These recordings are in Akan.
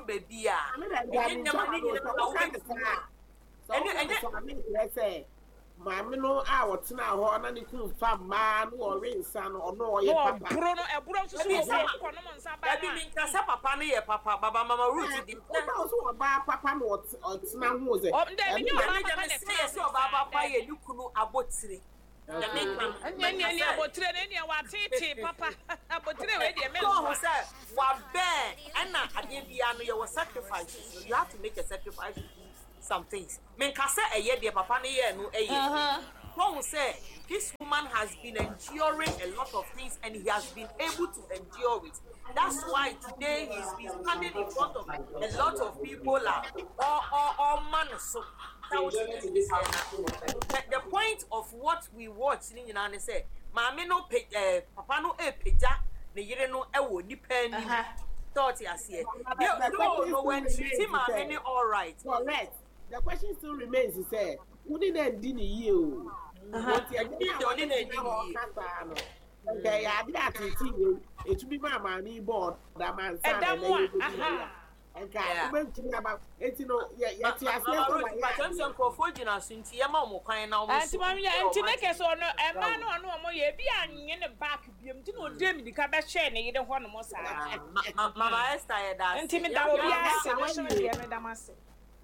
baabi a, ɛnyɛ nneɛma no nyinaa na wobɛtumi a. Ɛne ɛnyɛ sɛ maame no a ɔtena hɔ na ne kunu fa mmaa na ɔwe nsa no, ɔno ɔyɛ papa. Ɔboro no, ɛboro nso so wɔ hɔ, ɔkɔnom nsa baa no a. Dabi, menka sɛ papa no yɛ papa, baba Mama Ruth di. Ɔba ɔsɛ ɔbaa papa na ɔtena ho sɛ. Dabi, nyɛ ɔbaa papa na ɛtena ho saa. Ɔbaa papa yɛ ne kunu abotire. Ɛnyɛ nea nea abotire no ɛnea wateetee papa abotire wei deɛ mɛnsoa. Ɔhu sɛ wabɛn ɛna adeɛ biara no yɛwɔ sacrifices no, you have to make a sacrifice to do some things. Menka sɛ ɛyɛ deɛ papa no yɛɛ no ɛyɛ. Wahu sɛ this woman has been enduring a lot of things and he has been able to endure it. That's why today he's been standing in front of a lot of people a ɔma no so. The point of what we watch ne nyinaa ne sɛ maame no pe ɛɛ papa no repagya ne yere no wɔ nipa anim. Sɛ ɔte aseɛ. Though no wɔntreat maame no all right. Correct. The question still remains sɛ wo ne no andi ne yie o. Nti ɛnyɛ na ɔne ne na ɔka saa no. Nka ɛyɛ ade a tete wei etumi maa maame yi bɔɔ ɔda ma nsa na ɛnɛ yɛ bɛdi na yɛ. Nka wobɛntumi aba eti no yɛ yɛte aseɛ sɛ wayɛ adeɛ. Sɛ nkurɔfoɔ gyina so nti yɛma wɔn kwan na wɔn so. Nti yɛ nti ne kɛ sɛ ɔno ɛmaa no ɔno wɔn yɛ ebi anye ne back biom nti na ɔde mirika bɛhyɛɛ ne yere hɔ nom saa. Mama Esther yɛ da ase. Nti meda obi ase me so deɛ meda mo ase.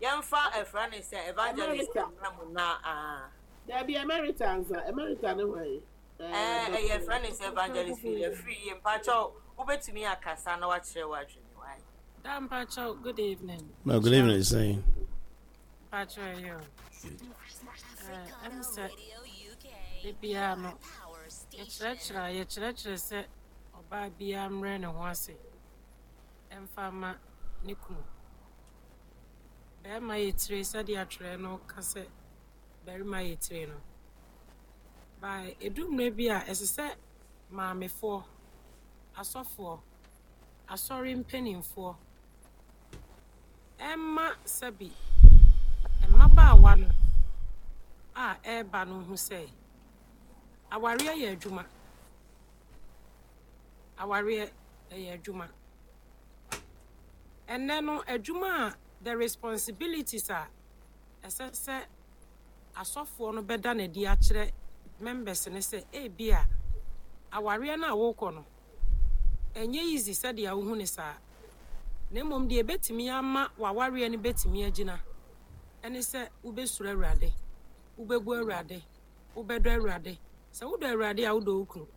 Yɛmfa ɛfrɛ ne sɛ evangelist mmra mu na ah. Dabi Emerita nsa Emerita ne hwan? Ɛɛ ɛyɛ frɛ ne sɛ evangelist fi afiri yie mpakyɛw wobɛtumi akasa na wakyerɛ w'adwene wae. Da mpakyɛw good evening. No, good evening sɛn. Mpakyɛw ɛyɛ o. Ɛɛ ɛm sɛ ebiara no yɛkyerɛkyerɛ a yɛkyerɛkyerɛ sɛ ɔbaa biara mmerɛ ne ho ase ɛmfa ma ne kunu. Bɛrima yɛ tire sɛdeɛ atwerɛ no ka sɛ barima yɛ tire no. By ɛdu mmerɛ bi a ɛsɛ sɛ maamefoɔ, asɔfoɔ, asɔre mpanimfoɔ ɛmma sɛbi mmabaawa no a ɛreba no hu sɛ awareɛ yɛ adwuma. Awareɛ ɛyɛ adwuma. Ɛnnɛ no adwuma a the responsibilities a ɛsɛ sɛ asɔfoɔ no bɛda no adi akyerɛ members no sɛ ebia awareɛ no a worekɔ no, ɛnyɛ easy sɛdeɛ wohu no saa, na mmom deɛ ɛbɛtumi ama w'awareɛ no bɛtumi agyina ɛne sɛ wobɛsuro Awurade, wobɛbu Awurade, wobɛdɔ Awurade. Sɛ wodɔ Awurade a, wodɔ wo kunu.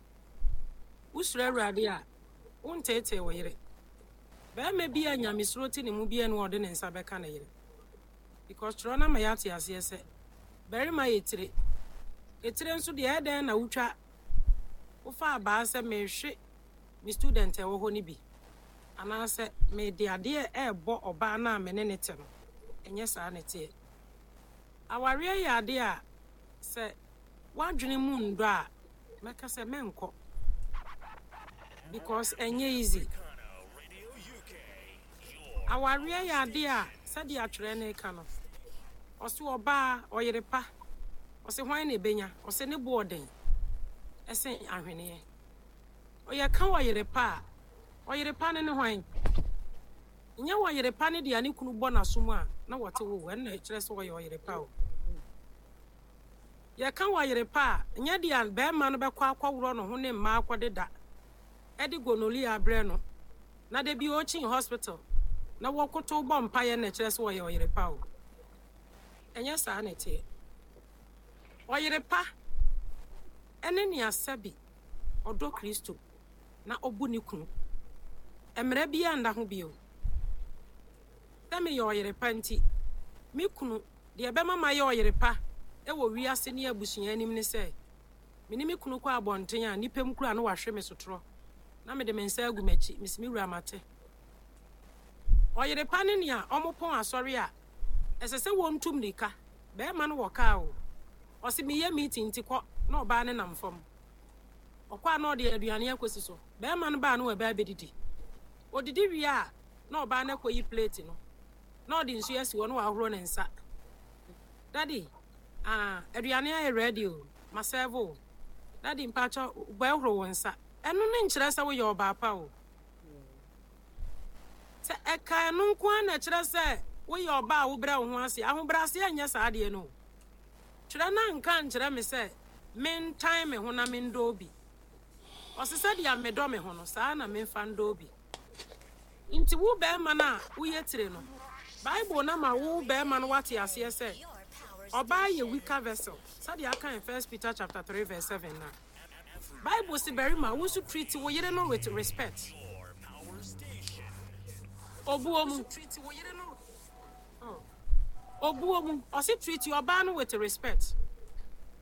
Wosuro Awurade a, wonteetee wo yere. Barima bi a nyamesuro te ne mu biara nni hɔ a ɔde ne nsa bɛka ne yere. Because twerɛ no ama yɛate aseɛ sɛ barima yɛ tire. Etire nso deɛ ɛyɛ dɛn na wotwa wofa abaa sɛ mehwe me student a ɛwɔ hɔ no bi anaasɛ mede adeɛ ɛrebɔ ɔbaa no a me ne ne te no. Ɛnyɛ saa na ɛteɛ. Awareɛ yɛ adeɛ a sɛ w'adwene mu nnɔ a mɛka sɛ mɛnkɔ because ɛnyɛ easy. Awareɛ yɛ adeɛ a sɛdeɛ atwerɛ no reka no, ɔse ɔbaa, ɔyere pa, ɔse hwan na ɛbɛnya, ɔse ne bo ɔden ɛsen ahweneɛ. Yɛka ɔyere pa a, ɔyere pa no ne hwan? Nyɛ ɔyere pa ne deɛ ne kunu bɔ n'asom a na wɔte wo, ɛno na ɛkyerɛ sɛ ɔyɛ ɔyere pa o. Yɛka ɔyere pa a, nyɛ deɛ barima no bɛkɔ akɔworɔ ne ho ne mmaa akɔdeda de gonorrhea abrɛ no na da bi ɔrekyin hospital na wɔkotow bɔ mpaeɛ na ɛkyerɛ sɛ ɔyɛ ɔyere pa o. Ɛnyɛ saa na ɛteɛ. Ɔyere pa ne nea sɛbi ɔdɔ Kristo na ɔbu ne kunu. Mmara biara nna ho bio. Sɛ meyɛ ɔyere pa nti, me kunu, deɛ ɛbɛma mayɛ ɔyere pa wɔ wiase ne abusua anim ne sɛ, me ne me kunu kɔ abɔnten a, nnipa mu koraa na wahwe me sotorɔ na mede me nsa agu m'akyi, mese me wura mate. Ɔyere pa ne nea wɔpɔn asɔre a, ɛsɛ sɛ wɔntu mmirika, barima no wɔ kaa o, ɔse meyɛ meeting nti kɔ na ɔbaa no nam fam. Ɔkɔ a na ɔde aduane akɔsi so, barima no ba a na waba abɛdidi. Ɔdidi wie a na ɔbaa no akɔyi plate no na ɔde nsuo asi hɔ na wahoro ne nsa. Daddy, ah, aduane ayɛ ready o, ma serve o. Daddy, mpakyɛ bɛhoro wo nsa. Ɛno no nkyerɛ sɛ woyɛ ɔbaa pa o. Sɛ Ɛka ɛno nko ara na ɛkyerɛ sɛ woyɛ ɔbaa a wobrɛ wo ho ase. Ahobrɛaseɛ nyɛ saa adeɛ no o. Twerɛ no anka ankyerɛ me sɛ mentan me ho na mendɔ obi. Ɔse sɛdeɛ medɔ me ho no, saa ara na memfa ndɔ obi. Nti wo barima no a woyɛ tire no, Bible no ama wo barima no woate aseɛ sɛ ɔbaa yɛ weaker vessel, sɛdeɛ aka in First Peter chapter 3 verse 7 no a. Bible se barima, wo nso treat wo yere no with respect. Obuo mu. Obuo mu. Ɔse treat ɔbaa no with respect.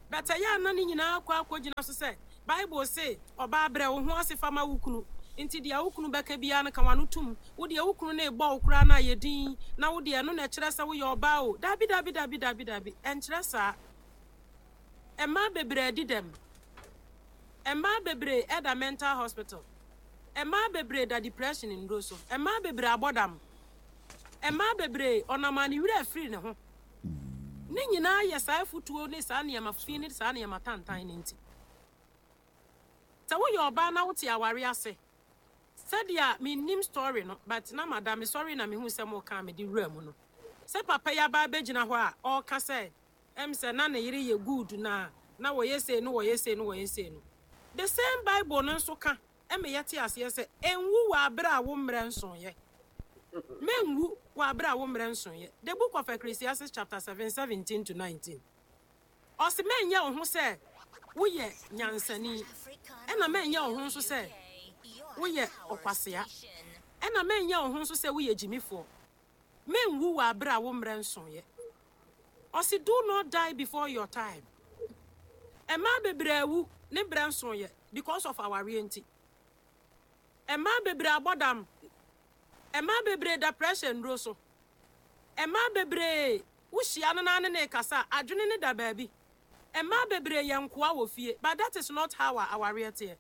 But ɛyɛ a na ne nyinaa kɔ akɔgyina so sɛ Bible se ɔbaa brɛ wo ho ase fa ma wo kunu. Nti deɛ wo kunu bɛka biara no ka w'ano tom. Wo deɛ wo kunu no rebɔ wo koraa no a yɛ dinn na wo deɛ ɛno na ɛkyerɛ sɛ woyɛ ɔbaa o. Dabi dabi dabi dabi dabi ɛnkyerɛ saa. Mmaa bebree adi dɛm. Mmaa bebree ɛda mental hospital. Mmaa bebree da depression nnuro so. Mmaa bebree abɔ dam. Mmaa bebree, ɔnam a ne werɛ afiri ne ho. Ne nyinaa yɛ saa afutuo ne saa nneɛma fi ne saa nneɛma tantan no nti. Sɛ woyɛ ɔbaa na wote aware ase, sɛdeɛ mennim story no, but na mada, mesɔree na mehuu sɛ moka a mede wuraa mu no, sɛ papa yi aba abɛgyina hɔ a ɔreka sɛ ɛm sɛ na ne yere yɛ good na na wɔyɛ sei no wɔyɛ sei no wɔyɛ sei no. The same Bible no nso ka ma yɛte aseɛ sɛ, Nwu wɔ aberɛ a wo mmerɛ nsoeɛ. Mɛnwu wɔ aberɛ a wo mmerɛ nsoeɛ. The Book of Ecclesiastes chapter 7, 17 to 19. Ɔse mɛnyɛ wo ho sɛ woyɛ nyansani, ɛna mɛnyɛ wo ho nso sɛ woyɛ ɔkwasea, ɛna mɛnyɛ wo ho nso sɛ woyɛ gyimifoɔ. Mɛnwu wɔ aberɛ a wo mmerɛ nsoeɛ. Ɔse do not die before your time. Mmaa bebree awu ne berɛ nsoeɛ because of awareɛ nti. Mmaa bebree abɔ dam. Mmaa bebree da pressure nnuro so. Mmaa bebree wohyia no na ne ne rekasa a, adwene no da baabi. Mmaa bebree yɛ nkoa wɔ fie but that is not how a awareɛ teɛ.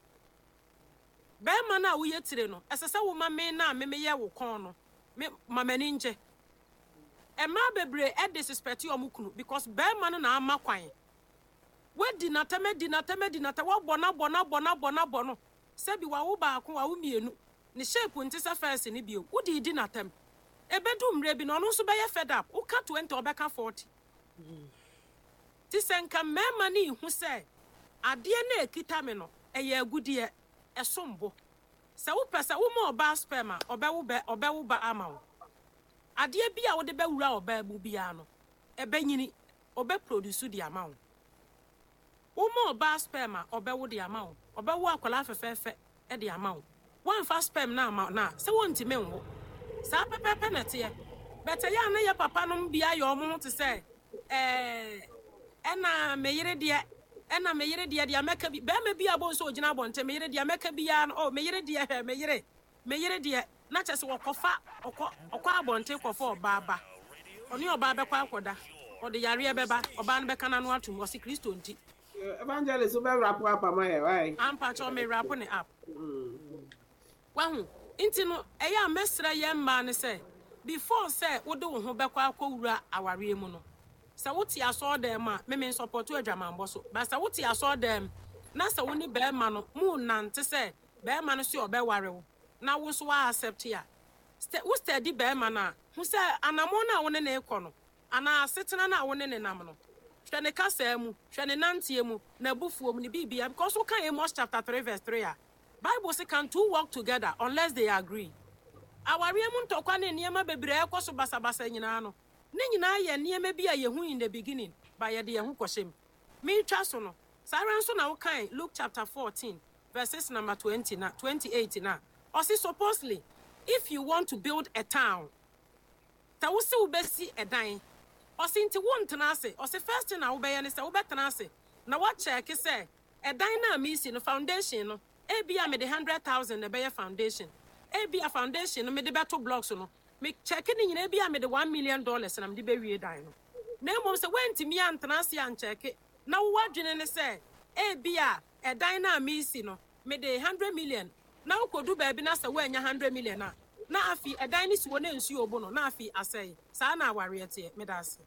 Barima no a woyɛ tire no, ɛsɛ sɛ woma me no a me meyɛ wo kɔn no, me ma m'ani ngye. Mmaa bebree disrespect wɔn kunu because barima no na ama kwan. Wadi n'atɛm adi n'atɛm adi n'atɛm, wabɔ no abɔ no abɔ no abɔ no abɔ no. Sɛbi wawo baako, wawo mmienu, ne shape nte sɛ first no bio, wode redi n'atɛm. Ɛbɛdu mmerɛ bi no, ɔno nso bɛyɛ fed up, woka 20 a ɔbɛka 40. Nti sɛ nka mmarima no rehu sɛ adeɛ no a ɛkita me no, ɛyɛ agudeɛ, ɛsom bo. Sɛ wopɛ sɛ woma ɔbaa sperm a, ɔbɛwo bɛ, ɔbɛwo ba ama wo. Adeɛ bi a wode bɛwura ɔbaa mu biara no, ɛbɛnyini, ɔbɛ produce de ama wo. Woma ɔbaa sperm a, ɔbɛwo de ama wo. Ɔbɛwo akwadaa fɛfɛɛfɛ de ama wo. Woamfa sperm no amma no a, sɛ wɔntumi nwo. Saa pɛpɛɛpɛ na ɛteɛ. But ɛyɛ a na yɛ papa nom bi ayɛ wɔn ho te sɛ ɛɛ ɛna me yere deɛ, ɛna me yere deɛ, deɛ mɛka bi. Barima bi a wobɛhu sɛ ɔgyina abɔnten, me yere deɛ mɛka biara no, oh me yere deɛ hwɛ, me yere, Me yere deɛ, na kyerɛ sɛ wɔkɔfa, ɔkɔ, ɔkɔ abɔnten kɔfa ɔbaa ba. Ɔne ɔbaa bɛkɔ akɔda. Ɔde yareɛ bɛba, ɔbaa no bɛka n'ano atom, ɔse Kristo nti. Evangelist wo bɛ wrap up ama yɛ why? Ampa kyɛw me wrap ne up. Wahu? Nti no, ɛyɛ a mɛsrɛ yɛn mmaa no sɛ, before sɛ wode wo ho bɛkɔ akɔwura awareɛ mu no, sɛ wote asɔɔdan mu a, me mensɔpɔto adwamanbɔ so, but sɛ wote asɔɔdan mu na sɛ wo ne barima no monante sɛ bɛɛma no se ɔbɛware wo na wo nso wa accept a, sɛ wo steady bɛɛma no a, hu sɛ anamɔn no a wo ne no rekɔ no anaa asetena no a wo ne no nam no, hwɛ ne kasaa mu, hwɛ ne nanteɛ mu, n'abufuo mu, ne biribiara, because wo ka Amos chapter 3 verse 3 a, Bible se can two walk together unless they agree? Awareɛ mu ntɔkwa ne nneɛma bebree a ɛkɔ so basabasa nyinaa no, ne nyinaa yɛ nneɛma bi a yɛhu in the beginning, but yɛde yɛn ho kɔhyɛ mu. Meretwa so no, saa ara nso na wokae Luke chapter 14 verses number 20 na 28 no a, ɔse supposedly if you want to build a town, sɛ wose wobɛsi ɛdan, ɔse nti wontena ase, ɔse first thing a wobɛyɛ ne sɛ wobɛtena ase na woakyɛɛke sɛ ɛdan no a meresi no foundation no ebia mede 100,000 na ɛbɛyɛ foundation, ebia foundation no mede bɛto blocks no, me kyɛɛke ne nyinaa ebia mede $1 million na mede bɛwie dan no. Na mmom sɛ woantumi antena ase ankyɛɛke na wo adwene ne sɛ ebia ɛdan no a meresi no, mede 100 million, na wokɔdu baabi na sɛ woannya 100 million a, na afei ɛdan no si hɔ na nsuo bo no, na afei asɛe. Saa na awareɛ teɛ. Meda ase.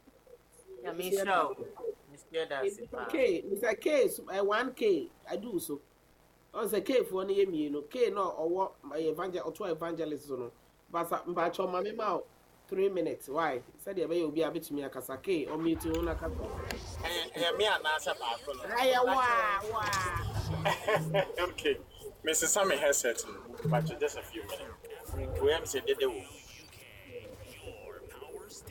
Nyame nhyira wo. Mesua da ase Mr. paa. K, Mr. K, 1K, adu so. Ɔn sɛ K foɔ no yɛ mmienu. K na ɔwɔ ɛyɛ evangel ɔtoa evangelist so no. Basa mpakyɛw ma me ma wo 3 minutes why sɛdeɛ ɛbɛyɛ obi a bɛtumi akasa. K, ɔmute wo na kasa. Ɛyɛ me anaasɛ baako no? Ɛyɛ waa waa. Okay, mesesa me headset no, but just a few minutes. Wei am sɛ dede wo.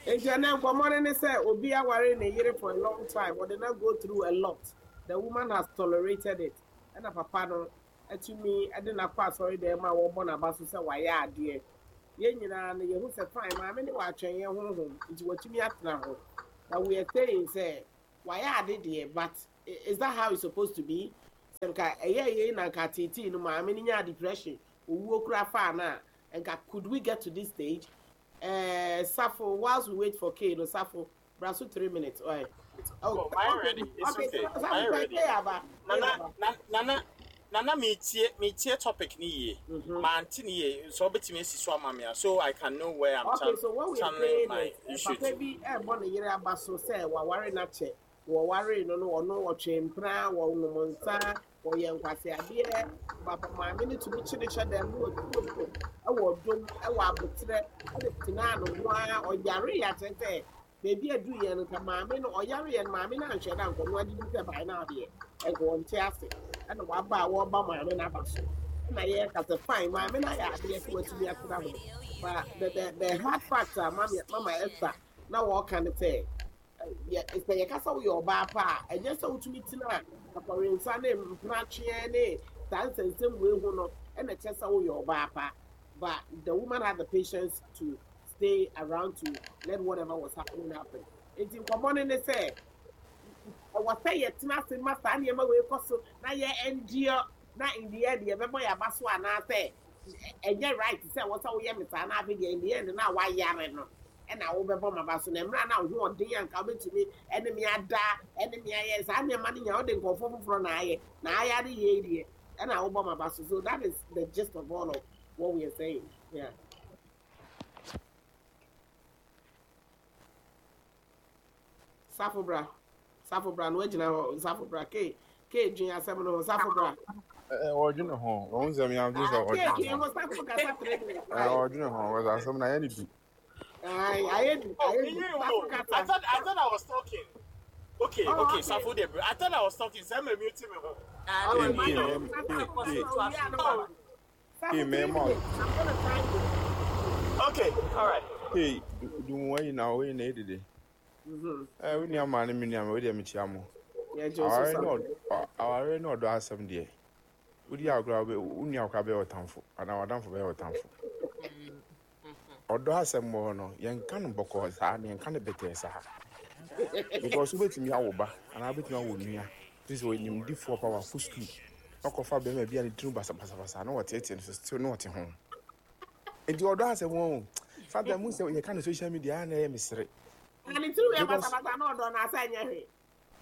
Nti ɛnɛ nkɔmmɔ no ne sɛ obi aware ne yere for a long time, ɔde na go through a lot, the woman has tolerated it, ɛna papa no atumi de n'akɔ asɔre dan mu a wɔbɔ n'aba so sɛ wayɛ adeɛ. Yɛn nyinaa no yɛhu sɛ fine, maame ne wɔatwɛn yɛn honhom nti watumi atena ho, but we are saying sɛ wayɛ ade deɛ, but is that how it's supposed to be? Sɛ nka ɛyɛ yei na nka teetee no maame no nyaa depression, owuo kura faa no a, nka could we get to this stage? Safo, whilst we wait for K no, Safo, bra so 3 minutes. All right. Oh, my ready. It's okay. Safo, My ready. K aba. Nana, na, nana, nana, me tie topic ni yie. Mante ni yie. So obetumi esi so ama me a, so I can know where I'm Okay, so what we are channeling saying my is, issue papa to. bi ɛbɔ ne yere aba so sɛ waware n'akyɛ, wɔware no no, ɔno ɔtwe mpena, wɔnom nsa, wɔyɛ nkwaseadeɛ. Papa maame no tumi kye ne hyɛ dɛm na wɔtuo ɛwɔ dom, ɛwɔ abotrɛ, ɛde tenaa ne ho ara. Ɔyare yɛ akyerɛ sɛ beebi aduru yɛn no, nka maame no ɔyare yɛn no, maame no anhwɛ no ankɔ no adidi sɛ ban no adeɛ ɛnka wɔnte ase, ɛna waba a wɔreba maame no aba so, ɛna yɛreka sɛ fine, maame no ayɛ adeɛ sɛ watumi atena ho, but the hard fact a mama Esther na wɔreka ne sɛ yɛ sɛ yɛka sɛ woyɛ ɔbaa pa a, ɛnyɛ sɛ wotumi tena akɔrensa ne mpenatweɛ ne saa nsɛnsɛm wei ho no ɛna kyerɛ sɛ woyɛ ɔbaa pa. But the woman had the patience to stay around to let whatever was happening happen. Nti nkɔmmɔ no ne sɛ ɛwɔ sɛ yɛtena ase ma saa nneɛma wei kɔ so na yɛ endure, na in the end yɛbɛbɔ yɛ aba so, anaasɛ ɛnyɛ right sɛ wɔ sɛ woyɛ me saa na afei deɛ in the end na wayare no ɛna wobɛbɔ ma ba so, na mmerɛ na wo ho ɔden anka wobɛtumi ɛne me ada ɛne me ayɛ saa nneɛma no nyinaa, wode nkɔɔfoɔ foforɔ na ayɛ na ayare yie deɛ ɛna wobɔ ma ba so. So that is the gist of all of what we are saying, yeah. Safo bra, Safo bra na wagyina hɔ. Safo bra, ke ke dwen asɛm no ho. Safo bra. Ɔdwene ho, ɔhu sɛ meadwene sɛ ke ɔdwene dwen ho. ho. Safo kasa 3 minutes. Ɔdwene ho wɔsɛ asɛm no ayɛ ne du. Ayɛ du. Oh, Ayɛ du. you Safo know, kasa. I thought I was talking. Okay, Oh, okay, okay. Safo de, I thought I was talking. Sɛ me mute me ho. Ke Okay, ke Safo me kasa ke ke kasa owie a na Oh, waba. ke Safo, three mɛma minutes. I'm gonna time you. Okay, all right. Ke dumu wayi na woyi na edede. Wo nua maa ne me nua ma wo deɛ mekyia mo. Yeah, Joseph. Aware ne Safo. Aware ne ɔdɔ asɛm deɛ. Wodi agorɔ a wo nua koraa bɛyɛ ɔtamfo anaa w'adamfo bɛyɛ ɔtamfo. Ɔdɔ asɛm wɔ hɔ no, yɛnka no bɔkɔɔ saa na yɛnka no bɛtɛɛ saa. Because wobɛtumi awo ba anaa wobɛtumi awo nua. Te sɛ ɔnimdifoɔ pa wakɔ sukuu. Wakɔfa bɛrima bi a ne tirim basabasabasa na wɔteetee no so still na ɔte ho. Nti ɔdɔ asɛm wɔ ho. Sometimes mu sɛ yɛka no social media a na ɛyɛ mesere. Na ne tiri yɛ Because basabasa na ɔdɔ na asa nyɛ hwee.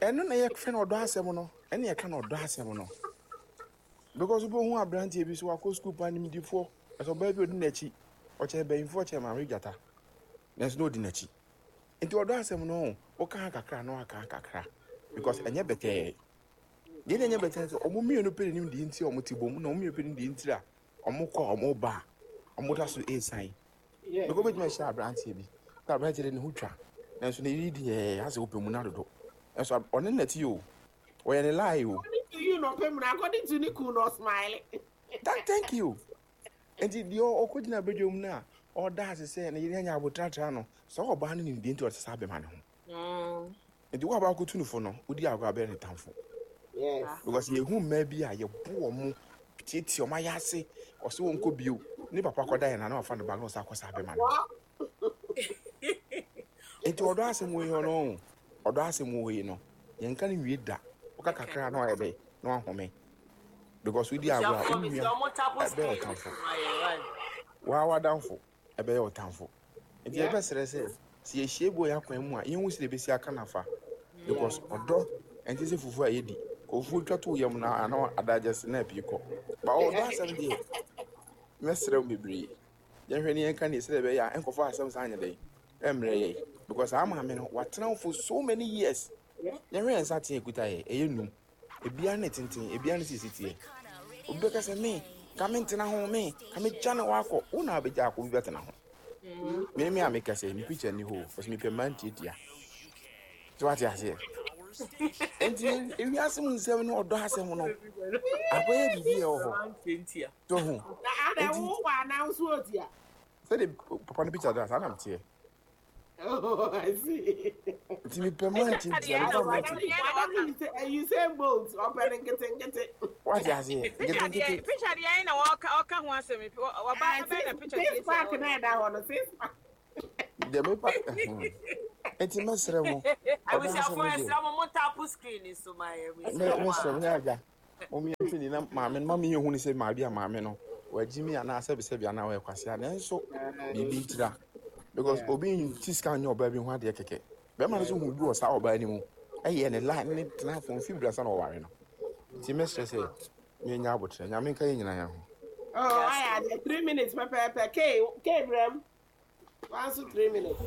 Ɛno na yɛfrɛ no ɔdɔ asɛm no, ɛne yɛka no ɔdɔ asɛm no. Because wobɛhu aberanteɛ bi so wakɔ sukuu pa, nimdifoɔ, ɛsɛ ɔbaa bi ɔdi n'akyi, ɔkyɛn banyimfoɔ, ɔkyɛn maame gyata, nanso na ɔdi n'akyi. Nti ɔdɔ asɛm no, woka ha kakra na waka ha kakra, because ɛnyɛ bɛtɛɛ. Deɛ na ɛnyɛ bɛtɛɛ sɛ ɔmo mmienu pɛ n'anim deɛ nti a ɔmo te bom, na ɔmo mmienu pɛ n'anim deɛ nti a ɔmo kɔ a ɔmo ba a ɔmo da so ɛresan. Because wobɛtumi ahyia aberanteɛ bi na aberanteɛ de ne ho twa, nanso ne yere deɛ asɛ wopɛ mu no adodo, nanso ɔne nɛte o, ɔyɛ ne lie o. According to you no pɛ mu na according to ne kun no ɔsmile. That, thank you. Nti deɛ ɔkɔgyina badwam no a ɔda ase sɛ ne yere anya abotratra no, sɛ ɔbaa no nim deɛ nti ɔte saa bɛma ne ho. Nti wo a baakɔtu no fo no, wodi agorɔ abɛyɛ ne tamfo. Because yɛhu mmaa bi a yɛbo wɔ mo tietie ɔmo ayɛ ase, ɔsɛ wɔn nkɔ bio ne papa kɔda yɛn na na wafa ne ba na ɔsa akɔ saa bɛma no. Nti ɔdɔ asɛm wɔ yi no, ɔdɔ asɛm wɔ yi no, yɛnka no nwie da. Woka kakra na wayɛ dɛ na wahome, because wodi agorɔ a wo nua ɛbɛyɛ ɔtamfo, waa wadamfo ɛbɛyɛ ɔtamfo. Nti yɛbɛsrɛ sɛ yɛhyia bi wɔ yɛn akwan mu a, yɛnhu sɛ yɛbɛsi aka nafa, because ɔdɔ ɛnte sɛ fufuo a yɛdi fufuo twa to yam na ana adagye na apie kɔ ba. Ɔdɔ asɛm deɛ, mɛsrɛ wo bebree, yɛnhwɛ ne yɛnka ne sɛdeɛ ɛbɛyɛ a ɛnkɔfa asɛm saa nyɛ dɛn ɛmmerɛ yɛ, because saa maame no watena wo for so many years. Yɛhwɛ yɛn nsa teɛ ekuta yɛ ɛyɛ num, ebiara ne tenten, ebiara ne sisi teɛ. Obi bɛka sɛ me Ka me ntena ho me, ka me gya ne hɔ akɔ. Wo na wobɛgya akɔ, obi bɛtena ho. Me me a meka sɛ, me picture nni hɔ o, because mepɛ mmaa ntiatia. So wate aseɛ? Nti ewiase mu nsɛm ne ɔdɔ asɛm no, akɔyɛ biribi a ɛwɔ hɔ. So ho. Na adɛ wo wɔ anaa wo so otia? Sɛde papa no picture da saa na meteɛ. Oh, I see. Nti mepɛ mmaa ntiatia, mepɛ mmaa ntiatia. You say bolt, ɔpɛ ne nketenkete. Wate aseɛ? Nketenkete. Picture deɛ ɛyɛ na ɔka ɔka ho asɛm. Ɔba bɛn na picture Six pack na ɛda hɔ no, six pack. Deɛ mepa nti mɛsrɛ mo. Abusuafoɔ ɛsrɛ mo mo tapo screen so ma yɛ. Mɛsrɛ mo nyɛ agya. Mo yɛ hwɛ ni na maame no ma mi yɛ hu ne sɛ maame a maame no wagyi mi anaa sɛbisɛbi anaa ɔyɛ kwasea nanso biribi ntira because obi nti sika nyɛ ɔbaa bi ho adeɛ kɛkɛ bɛrima no nso hu bi wɔ saa ɔbaa no mu ɛyɛ ne line ne tena fo mfi brasa na ɔware no nti mɛsrɛ sɛ menya abotrɛ nyame nka yɛ nyinaa yɛn ho. Oh, ayɛ adeɛ 3 minutes pɛpɛɛpɛ. K K brɛm. One so 3 minutes.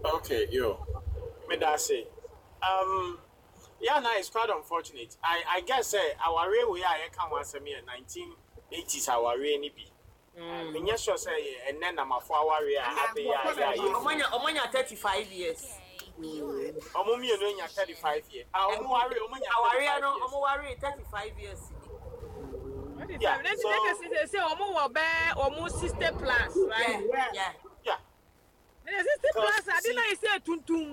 Okay, yo. Meda ase. Yeah, na it's quite unfortunate. I guess sɛ awareɛ wei a yɛka ho asɛm yɛ 1980s awareɛ ni bi. Menyɛ sure sɛ yɛ ɛnɛ namafo awareɛ a abɛyɛ a yɛ a yɛ. Ɔmo nya 35 years. Ɔmo mmienu anya 35 years. Ah, ɔmo ware ɔmo nya 35 Awareɛ no ɔmo ware 35 years ni. Yeah, so sɛ ɔmo wɔ bɛɛ ɔmo 60 plus, right? Yeah. Yeah. Ne 60 plus ade na yɛ sɛ tuntum.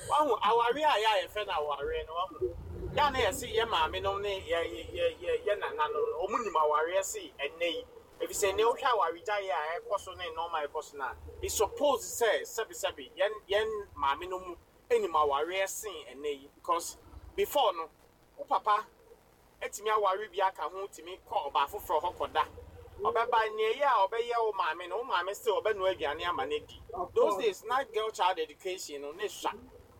Wahu awareɛ a yɛ a yɛfrɛ no awareɛ no, wahu yɛ a na yɛse yɛ maame nom ne yɛ yɛ yɛ yɛ nana nom no, ɔmo nim awareɛ se ɛnɛ yi efisɛ ɛnɛ wohwɛ awaregyaeɛ a ɛkɔ so ne nneɛma a ɛkɔ so no a, it's suppose sɛ sɛbesɛbe yɛn maame nom anim awareɛ sen ɛnɛ yi, because before no wo papa etumi aware bi aka ho, tumi kɔ ɔbaa foforɔ hɔ kɔda, ɔbɛba nea ɛyɛ a ɔbɛyɛ wo maame no, wo maame still ɔbɛnoa aduane ama no di. Those days na girl child education no ne sua.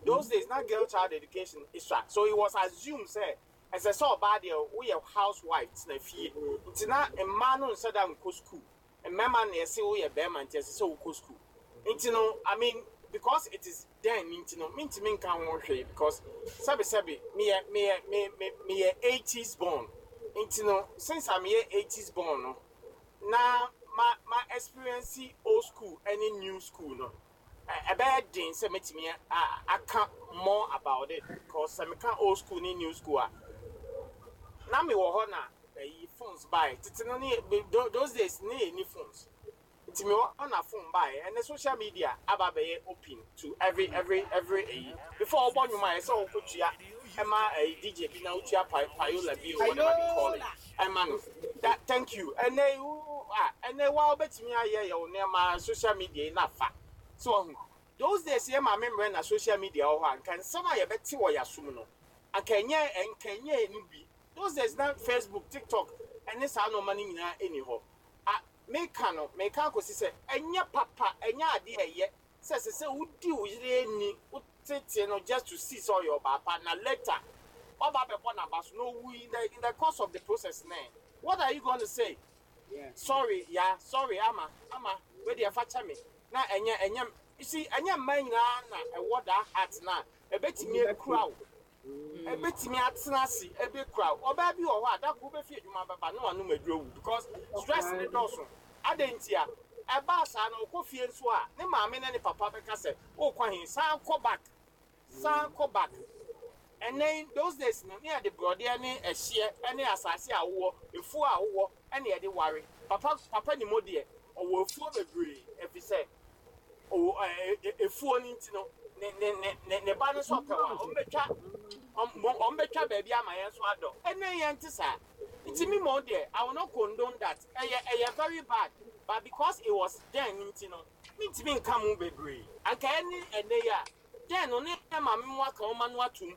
Those days na girl child education sua, so it was assumed sɛ ɛsɛ sɛ ɔbaa deɛ woyɛ housewife, tena fie. Nti na mmaa no nhyɛ da nkɔ school. Mmarima na yɛsɛ woyɛ bɛrima nti ɛsɛ sɛ wokɔ school. Nti no, I mean, because it is then nti no mentumi nka ho hwee, because sɛbesɛbe meyɛ meyɛ me me meyɛ 80s born. Nti no, since a meyɛ 80s born no na ma experience old school ɛne new school no, ɛbɛyɛ den sɛ mɛtumi aka more about it, because sɛ meka old school ne new school a, na mewɔ hɔ na ɛyi phones bae. Tete no ne those days ne yɛ ni phones, nti mewɔ hɔ na phone bae. Ɛnɛ social media aba abɛyɛ open to every ɛyi. Before ɔbɔ nnwom a, ɛsɛ ɔkɔtua ɛma ɛyi DJ bi na wotua payola bi o, whatever they call it, ɛma no that. Thank you. Ɛnɛ wo a ɛnɛ wa wobɛtumi ayɛ yɛ wo nneɛma social media yi na fa so. Ɔho those days yɛ maame mmerɛ na social media wɔ hɔ a, nka nsɛm a yɛbɛte wɔ yɛasom no anka ɛnyɛ nka ɛnyɛ ɛnu bi. Those days na Facebook, TikTok ɛne saa nneɛma no nyinaa ɛni hɔ a meka no. Meka akɔsi sɛ ɛnyɛ papa, ɛnyɛ adeɛ a ɛyɛ sɛ wodi wo yere ani, wotete no just to see sɛ ɔyɛ ɔbaa pa, na later waba abɛbɔ n'aba so na owu in the course of the process. Ne what are you going to say? Sorry ya, sorry ama ama wei deɛ fa kyɛ me na ɛnyɛ you see, ɛnyɛ mmaa nyinaa na ɛwɔ that heart na ɛbɛtumi ekura wo, ɛbɛtumi atena ase ɛbɛkura wo. Ɔbaa bi wɔ hɔ a dako wobɛfi adwuma bɛba na wanom aduro wu because stress ne dɔɔso. Adɛn nti a ɛbaa saa no? Ɔkɔ fie nso a, ne maame ne ne papa bɛka sɛ wokɔ he, san kɔ back, san kɔ back. Ɛnɛ those days no ne yɛde borɔdeɛ ne ɛhyeɛ ne asase a wowɔ, efuo a wowɔ ɛne yɛde ware. Papa ni mo deɛ ɔwɔ efuo bebree, ɛfiri sɛ ɔwɔ efuo no nti no ne ba no nso ɔpɛ wa ɔmbɛtwa baabi ama yɛn nso adɔ. Ɛnɛ yɛn te saa. Nti mi mo deɛ, I will not condone that. Ɛyɛ very bad, but because it was then nti no mintimi nka mu bebree. Anka ɛne ɛnɛ yi a, then no ne maame mu aka ɔma no atum,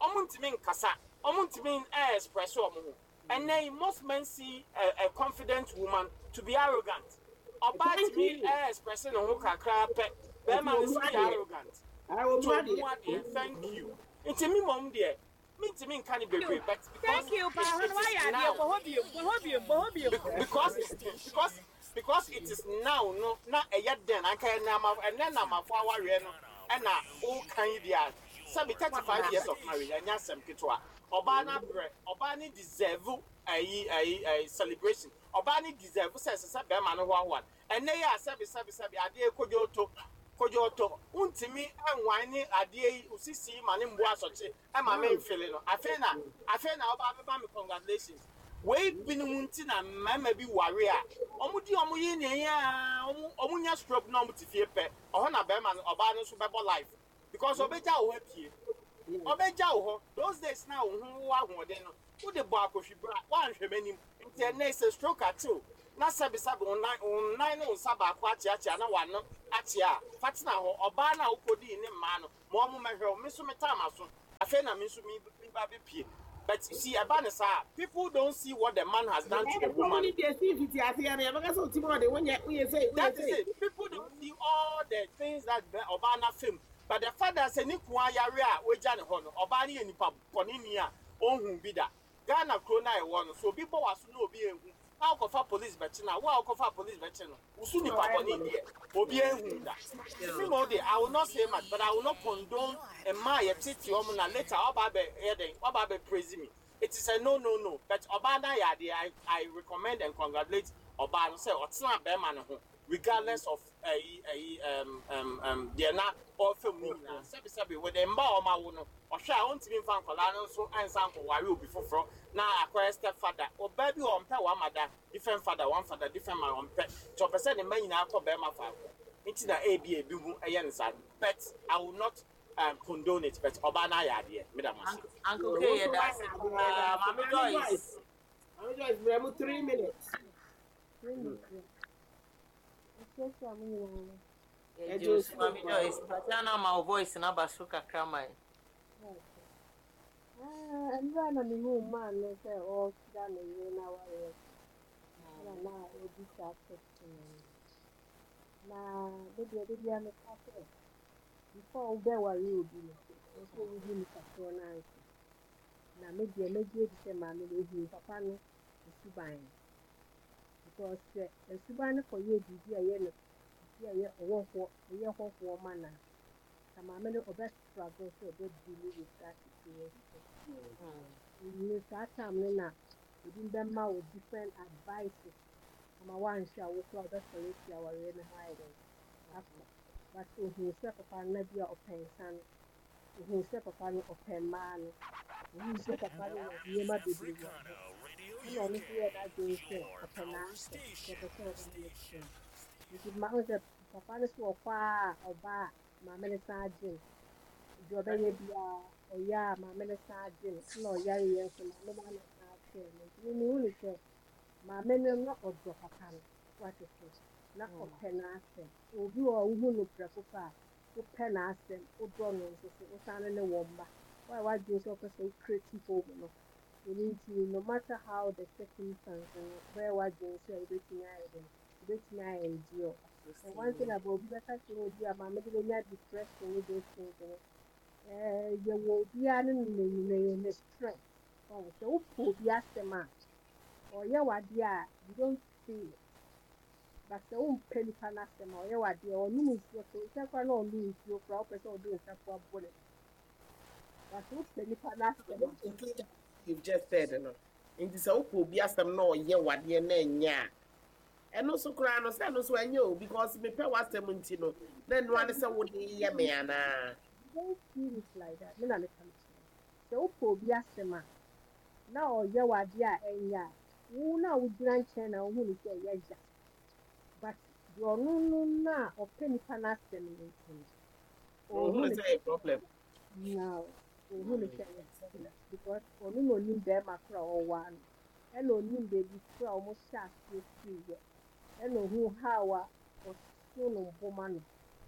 ɔmo ntumi nkasa, ɔmo ntumi ɛɛ express ɔmo ho. Ɛnɛ yi most men see a confident woman to be arrogant. Ɔbaa tumi ɛɛ express ne ho kakra pɛ, bɛrima no si yɛ arrogant. Nti ɔmu adeɛ. Thank you. Nti mi mom deɛ mintimi nka ne bebree, but because Thank you, pa it is now, because it is now no na ɛyɛ den. Anka ɛnɛ ɛnɛ namafo awareɛ no ɛna ɔkan yi deɛ, sɛbi, 35 years of marriage ɛnyɛ asɛm ketewa. Ɔbaa no abrɛ, ɔbaa no deserve ayi ayi ayi celebration. Ɔbaa no deserve sɛ ɛsɛ sɛ bɛrima no hoahoa no. Ɛnnɛ yi a sɛbe sɛbe sɛbe adeɛ kodwo to kodwo to, wontumi nwan ne adeɛ yi wo sisi yi ma no mbu asɔkye ma me mfele no. Afei na afei na woba abɛma me congratulations. Wei binom nti na mmarima bi ware a wɔdi wɔn yere nea ɛyɛ ara wɔn wɔnya stroke na wɔte fie pɛ, ɛhɔ na barima no ɔbaa no nso bɛbɔ life because ɔbɛgya wo hɔ apue. Ɔbɛgya wo hɔ. Those days na wo ho wɔ ahoɔden no, wode bɔ akɔhwi bra, woanhwɛ m'anim. Nti ɛnnɛ yi sɛ stroke akye wo na sɛbesɛbe wo nan wo nan ne wo nsa baako akyeakyea na w'ano akyea a, fa tena hɔ. Ɔbaa no a wokɔdii ne mmaa no, ma wɔn mmɛhwɛ wo. Me nso metaa m'aso. Afei na me nso me me ba bɛpue. But you see, ɛba no saa a, people don't see what the man has done to the Ɛfam woman. no deɛ si mfitiaseɛ no yɛbɛka sɛ ɔtim ɔde wonyɛ woyɛ sei woyɛ That is sei. it. People don't see all the things that bɛ ɔbaa no afa mu. But the fact that sɛ ne kun ayare a wagya ne hɔ no, ɔbaa no yɛ nipa bɔne ni a ɔnhuu bi da. Ghana kuro no a yɛwɔ no, sɛ obi bɔ w'aso na obi anhu na wokɔfa police bɛkye no a, wo a wokɔfaa police bɛkye no, wo so nipa bɔne deɛ, obi anhu da. Nti me mmom deɛ, I will not say much, but I will not condone mmaa a yɛtete wɔn na later woaba abɛ yɛ dɛn, woaba abɛ praise me. It is a no no no, but ɔbaa no ayɛ adeɛ, I, I recommend and congratulate ɔbaa no sɛ ɔtenaa barima no ho regardless of ɛyi ɛyi ɛm ɛm ɛm deɛ na ɔrefa mu no nyinaa. Sɛbi sɛbi with mma a wɔawo no, ɔhwɛ a ɔntumi nfa nkwadaa no nso nsa nkɔware obi foforɔ na akɔyɛ step father. Ɔbaa bi wɔ ɔmpɛ one mother different father, one father different mother ɔmpɛ. Nti ɔpɛ sɛ ne mma nyinaa kɔ barima faako. Nti na ebi ebi ho ɛyɛ no saa. But I will not um, condone it, but ɔbaa no ayɛ adeɛ. Meda mo ase. Uncle Wo K, nso yɛda woayɛ ase adeɛ yɛda paa. ase. Maame Maame Joyce. Joyce, Maame Joyce brɛ mu 3 minutes. Ɛkyerɛkyerɛ mo nyinaa. Yɛgye Ɛgye wo wo so so Maame paa. Joyce. Tatiana ma wo voice no aba so kakra ma yɛn. Ah, mmerɛ na mehuu maa no sɛ ɔrekyerɛ ne yere na awareɛ ɛna na ɔdi saa question no. Na me deɛ de bia meka sɛ before wobɛware obi no, ɛwɔ sɛ wohu nipa korɔ no ansa. Na me deɛ mɛgye adi sɛ maame no ohuu papa no suban no. Because sɛ suban no kɔyɛ biribi a ɛyɛ no biribi a ɛyɛ ɔwɔ hɔ ɛyɛ hɔhoɔ ma no a, na maame no ɔbɛ struggle sɛ ɔbɛ deal with that situation. Ne saa time no na ebi bɛma wo different advices ama woanhwɛ a wo koraa wobɛsɔre afi awareɛ no ho ayɛ dɛn akɔ. But ohuu sɛ papa no na bi a ɔpɛ nsa no, ohuu sɛ papa no ɔpɛ mmaa no, ohuu sɛ papa no wɔ nneɛma bebree wɔ ne ho. Ɛna ɔno nso yɛɛ n'adwene sɛ ɔpɛ n'asɛm, sɛ ɔpɛ sɛ ɔne no tena. Nti ma ɔhu sɛ papa no so ɔkɔ a ɔba a maame no san gye no. Deɛ ɔbɛyɛ biara ɔyɛ a maame no san gye no. Ɛna ɔyareɛ nso maame no ana san hwɛɛ no. Nti mehu ne sɛ maame no na ɔdɔ papa no wate so na ɔpɛ n'asɛm. Obi wɔ hɔ a wohu no prɛko pɛ a wopɛ n'asɛm, wodɔ no nso so wosan ne ne wɔ mma. Woayɛ w'adwene sɛ wopɛ sɛ wo create home no. Ɛno nti no matter how the circumstance no wobɛyɛ w'adwene sɛ wobɛtumi ayɛ dɛn wobɛtumi ayɛ endure. And one thing about obi bɛka kyerɛ obi a maame de bɛnya depression ne those things no, yɛwɔ obiara ne ne ne ne strength. Ɔho sɛ wopɛ obi asɛm a ɔyɛ w'adeɛ a you don't feel it. But sɛ wompɛ nipa n'asɛm a ɔyɛ w'adeɛ ɔnom nsuo so nkyɛn koraa na ɔnom nsuo koraa wopɛ sɛ ɔde nsa po abɔ ne but sɛ wopɛ nipa n'asɛm a You've just said no. Nti sɛ wopɛ obi asɛm na ɔyɛ wadeɛ na ɛnyɛ a, ɛno nso koraa no sɛ ɛno nso ɛnyɛ o because mepɛ w'asɛm nti no na ɛno ane sɛ wode yɛ me anaa. You don't feel it like that. Me na meka me kyerɛ. Sɛ wopɛ obi asɛm a na ɔyɛ w'adeɛ a ɛnyɛ a wo na wogyina nkyɛn na wohu ne sɛ ɛyɛ ya. But deɛ ɔno no na ɔpɛ nipa n'asɛm no nti no, Ohun ɔhu ne ne sɛ ɛyɛ problem. na ohu ne sɛ ɛyɛ problem because ɔno na onim bɛrima koro a ɔwɔ ano ɛna onim baabi koro a wɔn hyɛ aseɛ firi yɛ ɛna ohu how a ɔso no mboma no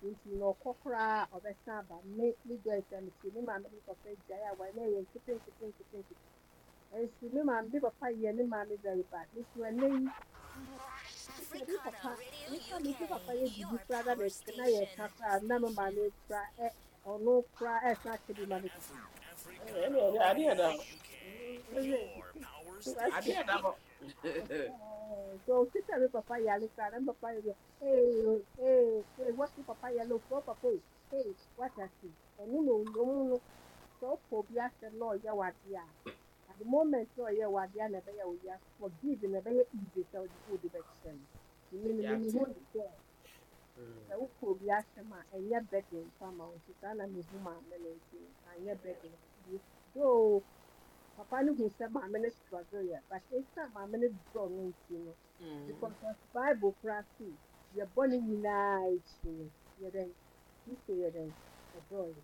nti na ɔkɔ koraa a ɔbɛsan aba me me Joyce a metie me maame ne papa gyae a wɔn ɛyɛ nkete nkete nkete nkete nso me maame me papa yɛ ne maame very bad nso ɛnɛ yi sɛ me papa nipa me me papa yɛ biribi koraa na mɛ na yɛ ka koraa na me maame koraa ɛ ɔno koraa ɛsan akyɛ bi ma me papa. Ɛne ɛde adeɛ da hɔ. Adeɛ da hɔ. So sisa me papa yare koraa na me papa yɛ ee ee ee wɔsi papa yare o furo papa o ee wata se ɔno na ɔmo no. sɛ wopɛ obi asɛm na ɔyɛ wo adeɛ a, at the moment na ɔyɛ wo adeɛ a na ɛbɛyɛ wo ya, forgive na ɛbɛyɛ easy sɛ wode wode bɛkyɛ no. Nti me no Yɛate. mehu no sɛ sɛ wopɛ obi asɛm a ɛnyɛ burden mfa ma wo nti saa na mehu maame no nti anyɛ burden. Though papa no hu sɛ maame no struggle yɛ but ɛsiane maame no dɔ no nti no because of Bible koraa se yɛ bɔne nyinaa akyi no yɛ dɛn Kristo yɛ dɛn ɔdɔɔ yɛn.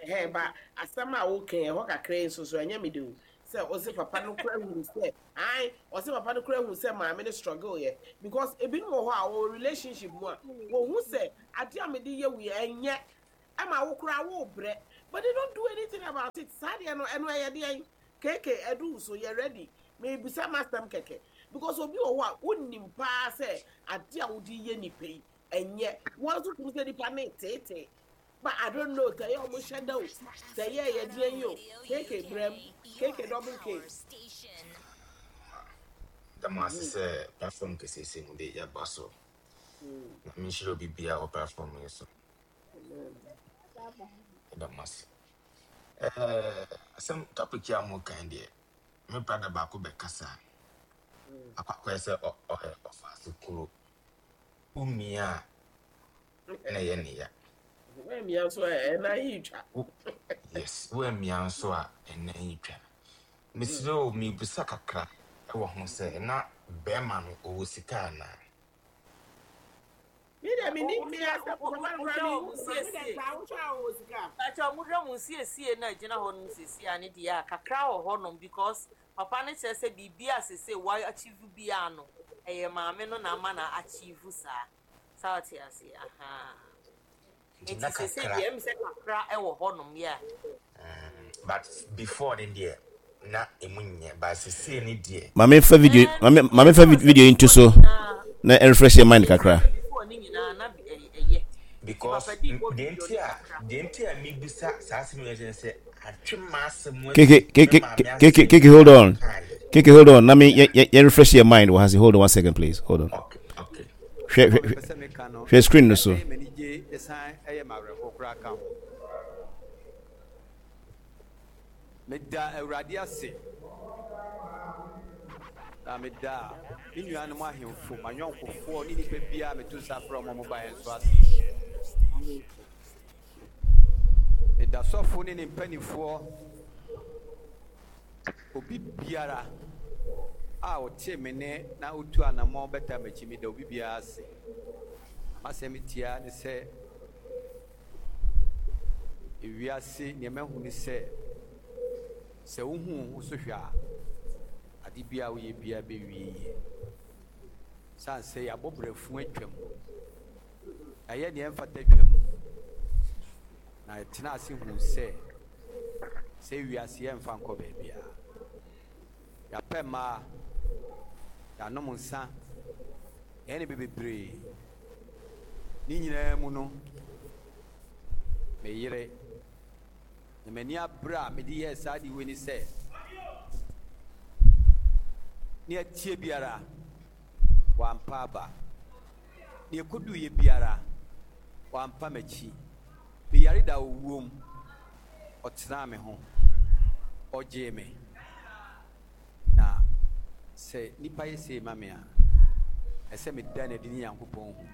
Ɛhɛn ba asɛm a woka yi ɛhɔ kakra yi nso so ɛnyɛ me de o sɛ ɔse papa no kora hunu sɛ ae ɔse papa no kora hu sɛ maame no struggle yɛ because ebinom wɔ hɔ a wɔwɔ relationship mu a wɔhu sɛ ade a mede yɛ wo yi ɛnyɛ ɛma wo koraa wobrɛ but they don't do anything about it saa deɛ no ɛno ɛyɛ deɛn KK ɛdu wo so yɛ ready mebisa m'asɛm kɛkɛ because obi wɔ hɔ a wonim paa sɛ ade a wode yɛ nipa yi ɛnyɛ wɔn nso tumi sɛ nipa no reteetee but I don't know sɛ ɛyɛ ɔmo hyɛ da o sɛ ɛyɛ ɛyɛ deɛn yi o KK brɛm KK double K. Da mo ase sɛ platform kɛseɛ sei mu de yɛaba so. Na menhyira obi biara wɔ platform yi so. Yɛda mo ase. Eh, asɛm topic yi a mo kan deɛ, me brother baako bɛkasa. Akɔ akɔyɛ sɛ ɔyɛ ɔfaase kuro. Womia a na ɛyɛ ne ya. Woamia nso a ɛnan yi twa. Yes, woamia nso a ɛnan yi twa. Mesrɛ o, mebisa kakra wɔ ho sɛ na bɛrima no ɔwɔ sika anaa? Me deɛ me ni me asɛm papa no koraa me hu me deɛ saa wohwɛ a ɔwɔ sika. Pakyɛ ɔmo hwɛ mo nsiesie no a ɛgyina hɔ nom siesie a ne deɛ a kakra wɔ hɔ nom because papa no kyerɛ sɛ biribi a sese wa achieve biaa no ɛyɛ maame no na ama no achieve saa saa ɔte aseɛ ahaa Nti na nti sese kakra deɛ ɛmi sɛ kakra ɛwɔ hɔ nom yeah. But before ne deɛ na emu nyɛ but sesei ne deɛ. Maame fa video Ɛɛ maame maame fa before sɛ video yi nto before so ne nyinaa na ɛrefresh yɛ mind before kakra. sɛ before ne nyinaa na ɛyɛ nti Because papa di bɔ deɛ video nti ne a kakra. deɛ nti a mebisa saa asɛm yi ne sɛ atwe m'asɛm KK asi me KK maame KK asɛm KK bi hold a on. ɔkaeɛ. KK hold on. Na me yɛ yɛ refresh yɛ mind wɔ ha se hold on one second please. Hold on. Okay okay. Hwɛ Asɛm a hwɛ mepɛ sɛ meka no, hwɛ screen no so. ɛyɛ m'anigye san ɛyɛ m'awerɛhow koraa ka ho. Meda Awurade ase, na meda me nuanom ahemfo, m'ayɔnkofoɔ ne nnipa biara a meto nsa frɛ wɔn a wɔbaeɛ nso ase. Meda sɔfo ne ne mpanimfoɔ, obi biara a ɔtee me nne na otu anammɔn bɛtaa m'akyi, meda obi biara ase. M'asɛm tiaa ne sɛ, ewiase nea mahu ne sɛ, sɛ wohu wo ho so hwɛ a, ade biara a woyɛ biara bewie yie. Esiane sɛ yɛabɔ brafunu atwam, yɛayɛ nea ɛmfata atwam, na yɛtenaa ase huu sɛ sɛ wiase yɛmfa nkɔ baabiara. Yɛapɛ mmaa, yɛanom nsa, yɛayɛ nneɛma bebree. Ne nyinaa mu no, me yere, na m'ani abere a mede yɛɛ saa ade wei ne sɛ, nea ɛteɛ biara, wampa aba. Nea ɛkɔduiɛ biara, wampa m'akyi. Meyare da owuo mu, ɔtenaa me ho, ɔgyee me. Na sɛ nnipa yɛ sei ma me a, ɛsɛ sɛ meda no adi ne Nyankopɔn hu,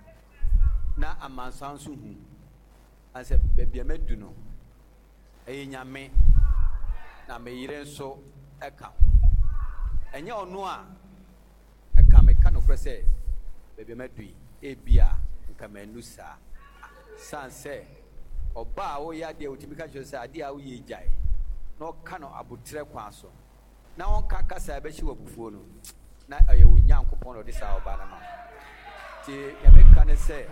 na amansan nso hu. Ɛsiane sɛ baabi a madu no, ɛyɛ Nyame, na me yere nso ka ho. Ɛnyɛ ɔno a, nka meka nokorɛ sɛ baabi a madu yi, ebia nka mannu saa. Esiane sɛ ɔbaa a ɔreyɛ adeɛ a ɔtumi ka kyerɛ sɛ adeɛ a woyɛ yi gyae, na ɔka no aboterɛ kwan so, na ɔnka kasa a ɛbɛhyɛ wo abufuo no, na ɛyɛ wo Nyankopɔn na ɔde saa ɔbaa no ama wo. Nti nea meka ne sɛ,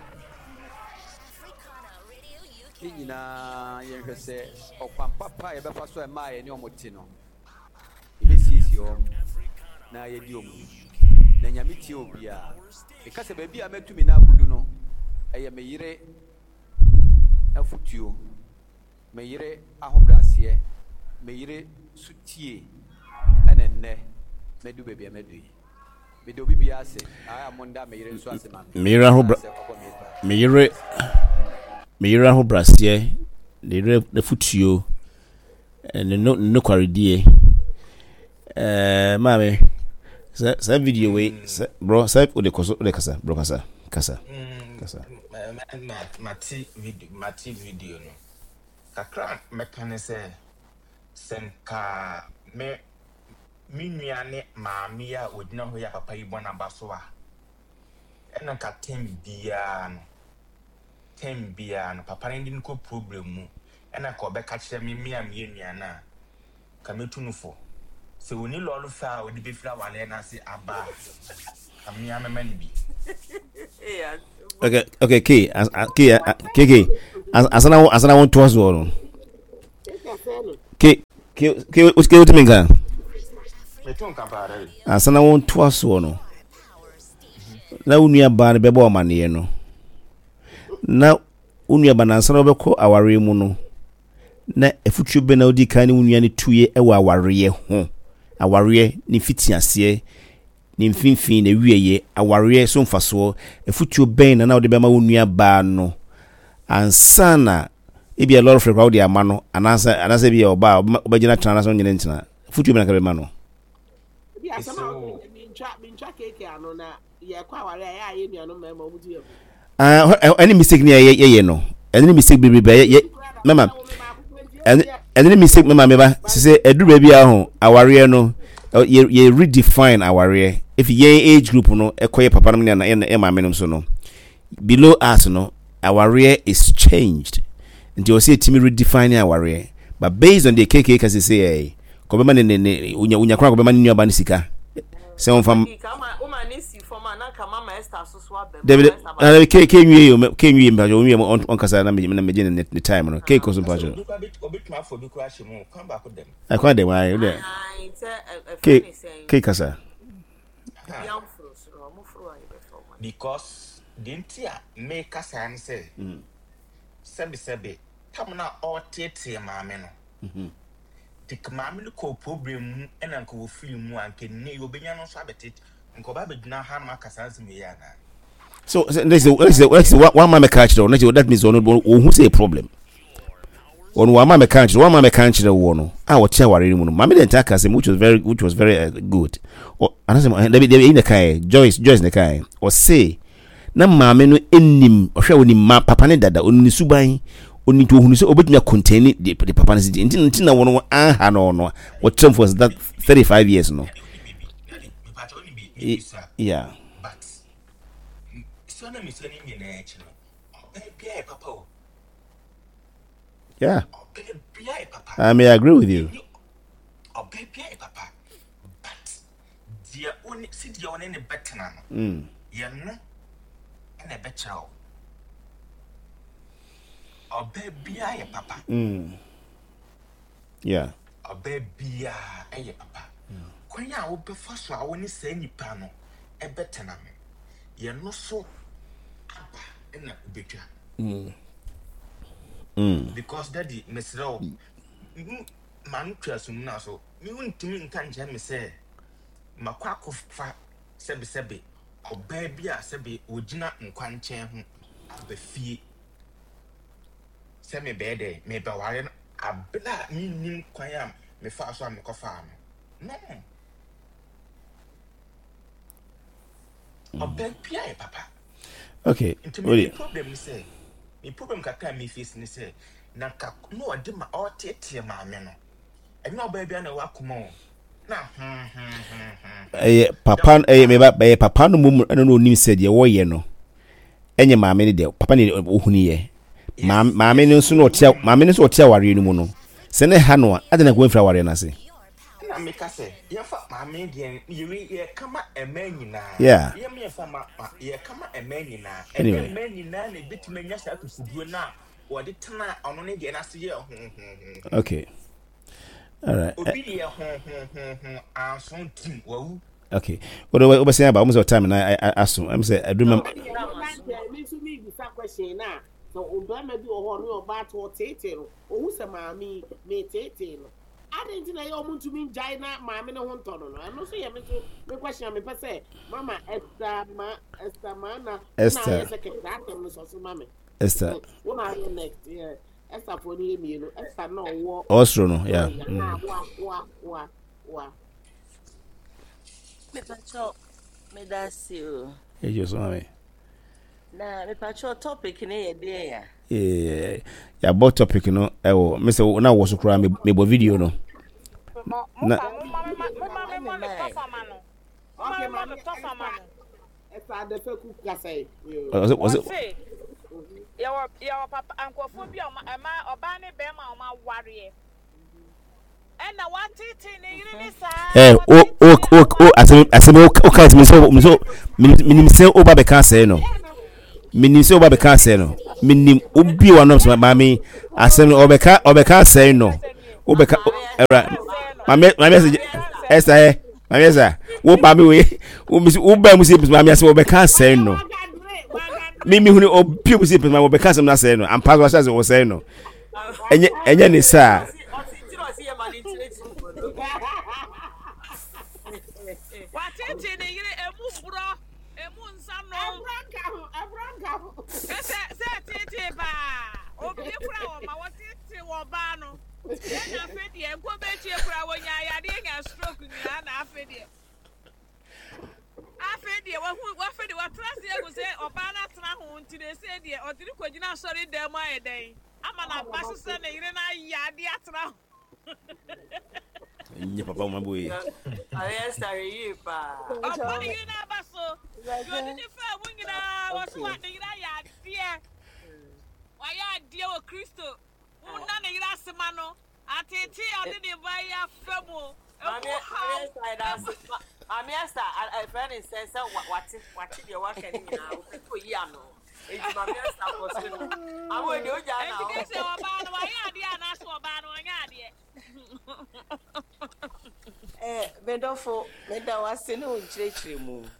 ne nyinaa yɛnhwɛ sɛ ɔkwan papa a yɛbɛfa so a ɛmaa yɛne wɔn te no, yɛbɛsiesie wɔn na yɛadi wɔn ni. Na Nyame tie obiara. Meka sɛ baabi a matu me nan akodu no, ɛyɛ me yere afotuo, me yere ahobrɛaseɛ, me yere sotie ɛna nnɛ madu baabi a madu yi. Meda obi biara ase, na ayɛ a monda me yere nso ase ma me. Me yere ahobra Sɛ ɔbɔ me paa. me yere me yere ahobrɛaseɛ, ne yere afotuo. Ne no nokwaredie. Ɛɛ maame, sɛ saa video wei sɛ bro sɛ wode kɔ so wode kasa bro kasa kasa kasa. Mate video mate video no kakra mɛka ne sɛ sɛ nka me me nua ne maame yi a ogyina hɔ yi a papa yi bɔ n'aba so a ɛna nka tɛm biara no tɛm biara no papa no de no kɔ problem mu ɛna nka ɔbɛka kyerɛ me me a meyɛ nua no a Nka mɛtu no fo. Sɛ ɔnni lɔre fɛ a ɔde bɛfiri awareɛ no ase aba a, nka me ara mɛma no bi. Okay, okay, K, K, K, K, asana wo, asana wo ntoa soɔ no. K, K, K, K, wotumi nka? Meto nka paa dɛ. Asana wo ntoa soɔ no. Na wo nua baa no bɛbɔ amaneɛ no. Na wo nua ba no ansa na wobɛkɔ awareɛ mu no. Na afutuo bɛn na wodii kan ne wo nua no tuiɛ wɔ awareɛ ho? Awareɛ, ne mfitiaseɛ, ne mfimfini, n'awieeɛ, awareɛ so mfasoɔ. Afutuo bɛn na na wode bɛma wo nua baa no ansa na ebia lɔre fare koraa wode ama no anaasɛ anaasɛ ebia ɔbaa a wobɛgyina tena anaasɛ wonyene ntena? Afutuo bɛn na ka bɛma no? Ebi asɛm a wode mentwa mentwa keeke ano na yɛkɔ aware a ɛyɛ a yɛ nuanom mmarima wɔn di abu. Ah, ɛne mistake ne yɛ yɛ no ɛne ne mistake bebrebe yɛ yɛ mɛma ɛne ɛne ne mistake mɛma mɛba sisɛ ɛduru baabi a ho awareɛ no yɛ yɛ redefine awareɛ efi yɛn age group no ɛkɔ yɛ papa nom ne yɛ yɛ maame nom so no below us no awareɛ is changed nti ɔsɛ yɛtumi redefine awareɛ but based on the KK ka sese yɛ kɔbɛma ne ne ne onya onya koraa kɔbɛma ne nuaba ne sika sɛ wɔn fam. Dabi dabi ke ke nwie o ke nwie mpatsɔ onwie mu ɔnkasa na me na me gye ne ne time no ke kɔ so mpatsɔ. Ɛkwan dɛm ayi o dɛ ke ke kasa. Because deɛ nti a meka saa ne sɛ sɛbesɛbe tam no a ɔreteetee maame no nti ka maame no kɔɔ problem mu ɛna nka wɔfiri mu a nka nnɛ yi ɔbɛnya no nso abɛtete nka ɔba abɛgyina ha ma aka saa nsɛm wei anaa? So ne sɛ ne sɛ ne sɛ wama mɛka akyerɛ wo ne sɛ that means ɔno ɔhu sɛ problem ɔno wama mɛka akyerɛ wama mɛka akyerɛ woɔ no a ɔte aware no mu no maame de nta aka asɛm which was very which was very uh, good anasɛ eh, dabi dabi eyi na kae Joyce Joyce na kae ɔse na maame no nim ɔhwɛ onim ma papa ne dada onim ne suban onim nti ohunu sɛ obetumi akontɛni de de papa no si nti nti na wɔn anha no no wɔkyerɛ for that 35 years no yeah but sua na mesua ne nyinaa akyi no ɔbaa biara yɛ papa o yeah ɔbaa biara yɛ papa I may agree with you ɔbaa biara yɛ papa but deɛ ɔne si deɛ ɔne ne bɛtena no yɛn no ɛna ɛbɛkyerɛ o ɔbaa biara yɛ papa yeah ɔbaa biara yɛ papa kwan a wobɛfa so a wo ne saa nipa no ɛbɛtena no yɛn no so aba ɛna wobɛtwa because daddy mesrɛ wo ma no twa sum no so me wontumi nka nkyerɛ me sɛ makɔ akɔfa sɛbesɛbe ɔbaa bi a sɛbe ogyina nkwankyɛn ho aba fie sɛ mebɛyɛ dɛ mebɛware no abere a mennim kwan a mefaa so a mekɔfaa no no ɔbaa bi ayɛ papa okay nti me problem ne sɛ me problem kakra a me face ne sɛ na nka na ɔde ma ɔteetee maame no ɛnyɛ ɔbaa bi a na ɛwɔ akoma o na hmm hmm hmm hmm ɛyɛ papa ɛyɛ meba ɛyɛ papa no mmom ɛna na onim sɛ deɛ wɔyɛ no ɛnyɛ maame no deɛ papa ne ohuni yɛ maame no nso na ɔte maame no nso ɔte awareɛ no mu no sɛ ne ha no a adɛn na nka wɔmfiri awareɛ no ase ɛna meka sɛ yɛmfa maame deɛ yɛwi yɛka ma ɛmɛ nyinaa yeah yɛm yɛmfa ma yɛka ma ɛmɛ nyinaa ɛnyɛ anyway mmaa nyinaa na ebetumi anya saa kufuduro no a wɔde tena ɔno ne deɛ n'ase yɛ ho ho ho ho okay all right obi deɛ ho ho ho ho anso tim wawu okay wode wobɛsɛn aba wo sɛ time na aso ɛm sɛ aduru ma me nso mebisa question na sɛ ɔbarima bi wɔ hɔ ɔne ɔbaa to ɔteetee no ɔhu sɛ maame yi meteetee no adɛn nti na ɛyɛ ɔmo ntumi ngyae na maame no ho ntɔ no no ɛno nso yɛ me nso me question a mepɛ sɛ mama Esther ma Esther ma na na Esther ayɛ sɛ kɛkɛ asɛm no sɔ so ma me Esther wo na ayɛ next yeah. Esther foɔ no yɛ mmienu. Esther na ɔwɔ. Ɔwɔ soro no, yeah. Wa wa wa wa. Mepakyɛw, meda ase o. Ejo so mami. Na mepakyɛw topic ne yɛ deɛ ya. Yeah, yɛabɔ topic no ɛwɔ me sɛ na wɔ so koraa mebɔ video no. Na. Okay, maame Ɔse yɛwɔ yɛwɔ papa nkurɔfoɔ bi a ɔma ɛma ɔbaa ne bɛrima a ɔma awareɛ ɛna watetee ne yere ne saa. Ɛ o o o o asɛm asɛm o o ka sɛ mi sɛ mi sɛ o ba bɛ ka asɛe no menim sɛ woba bɛka asɛe no menim wobie w'anom sɛ maame asɛm no ɔbɛka ɔbɛka asɛe no wobɛka ɛwura maame maame ɛsɛ ɛsɛ ɛ maame ɛsɛ wo maame wei wo misi wo bɛn mu si maame asɛm ɔbɛka asɛe no mi mi huni obie mu si maame ɔbɛka asɛm no asɛe no ampa so ahyɛ ase ɔsɛe no ɛnyɛ ɛnyɛ ne saa. Watete ne yere emu borɔ emu nsa nom. Ɛborɔ nka ho ɛborɔ nka ho. Sɛ sɛ tete paa obi kura wɔ ma wɔtete wɔ baa no. Ɛna afei deɛ nkɔ bɛkyie koraa wɔnya yadeɛ nya stroke nyinaa na afei deɛ afei deɛ wahu afei deɛ watena ase ahu sɛ ɔbaa no atena ho nti na ɛsɛ deɛ ɔde ne kɔgyina asɔre dan mu ayɛ dɛn ama n'aba so sɛ ne yere no ayɛ adeɛ atena ho. Nye papa ma boye. Ayɛ sare yie paa. Ɔbɔ ne yere n'aba so. Deɛ ɔde ne faa mu nyinaa wɔ so wa ne yere ayɛ adeɛ. Wayɛ adeɛ wɔ Kristo. Wonna ne yere ase ma no. Ateetee a ɔde ne ba yi afa mu. Emu haw. Maame Esther, ɛfrɛ ne sɛ sɛ wate wate deɛ waka ne nyinaa ɔpɛ sɛ oyi ano. Enti Maame Esther kɔ so no. Awo deɛ ogya na Enti kese ɔbaa no wayɛ adeɛ anaasɛ ɔbaa no ɔnyɛ adeɛ. Eh, me dɔfo, meda wo ase ne wo nkyerɛkyerɛmu.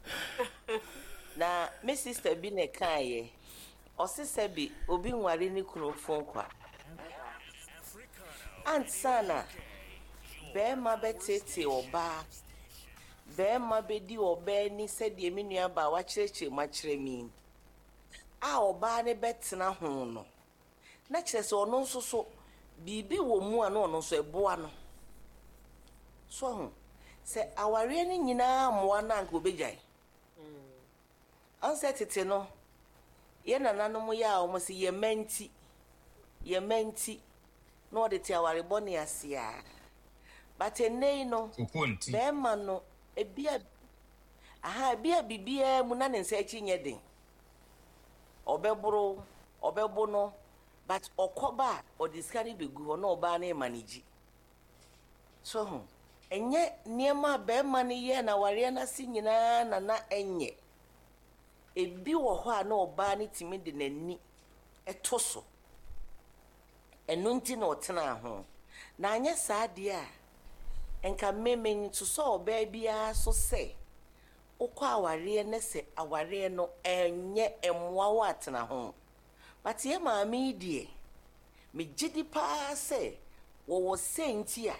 Na me sister bi na ɛkaeɛ. Ɔse sɛbe obi nware ne kunu fon kwa. Ansa na bɛɛma bɛteetee ɔbaa, bɛɛma bɛdi ɔbaa ni sɛdeɛ me nua baa wakyerɛkyerɛ mu akyerɛ me yi, a ɔbaa no bɛtena ho no, na kyerɛ sɛ ɔno nso so biribi wɔ mu a na ɔno nso ɛboa no. So ahu? Sɛ awareɛ no nyinaa mmoa no a anka ɔbɛgyae. Ɔn sɛ tete no, yɛ nananom yɛ a wɔn se yɛ mma nti, yɛ mma nti, na wɔde te aware bɔne ase a. But ɛnnɛ yi no, bɛɛma no, ebia, aha, ebia biribiara mu na ne nsa akyi nyɛ den. Ɔbɛboro, ɔbɛbo no, but ɔkɔba a, ɔde sika no bɛgu hɔ na ɔbaa no remanegyi. So ho? Ɛnyɛ nneɛma a barima no yɛɛ no awareɛ no ase nyinaa na na ɛnyɛ. Ebi wɔ hɔ a na ɔbaa no tumi de n'ani to so. Ɛno nti na ɔtenaa ho. Na anyɛ saa deɛ a, nka me mensosɔ ɔbaa biara so sɛ wokɔ awareɛ na sɛ awareɛ no ɛnyɛ mmoa wo a tena ho. But yɛn maame yi deɛ, megye di paa sɛ wɔwɔ sɛ nti a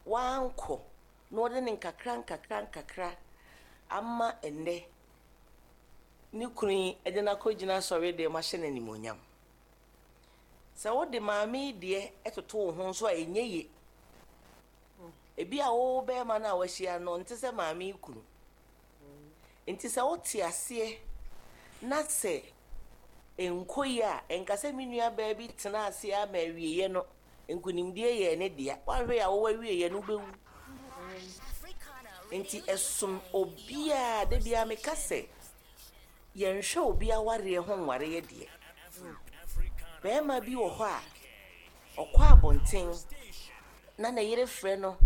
wankɔ na ɔde no nkakra nkakra nkakra ama ɛnnɛ ne kunu yi de no akɔgyina asɔredan mu ahyɛ no animuonyam. Sɛ wode maame yi deɛ toto wo ho nso a ɛnyɛ ye. Ebi a wo bɛrima no a wahyia no ɔnte sɛ maame yi kunu. Nti sɛ wote aseɛ na sɛ ɛnkɔ yie a, ɛnka sɛ me nuabaa bi tenaa ase ara ma awieeɛ no nkonimdie yɛɛ ne dea. Woanhwɛ yie a wowɔ awieeɛ no wobɛwu. Nti ɛsom obiara, da biara meka sɛ yɛnhwɛ obi awareɛ ho nwareɛ deɛ. Barima bi wɔ hɔ a, ɔkɔ abɔnten na ne yere frɛ no,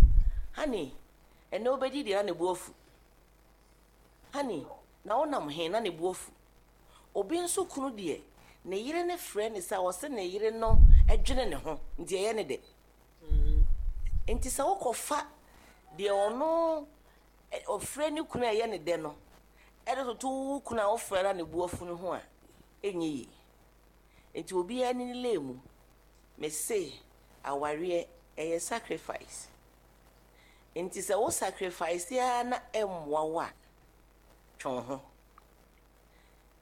honey, ɛnnɛ wobɛdi deɛ na ne bo afu. Honey, na wonam he? Na ne bo afu. Obi nso kunu deɛ, ne yere no frɛ no sɛ ɔse ne yere no dwene ne ho nti ɛyɛ ne dɛ. Nti sɛ wokɔfa deɛ ɔno ɔfrɛ ne kunu a ɛyɛ ne dɛ no de toto wo kunu a wofrɛ no a ne bo afu no ho a, ɛnyɛ yie. Nti obiara ne ne lane mu. Mese awareɛ ɛyɛ sacrifice. Nti sɛ wo sacrifice ara na ɛmmoa wo a, twe wo ho.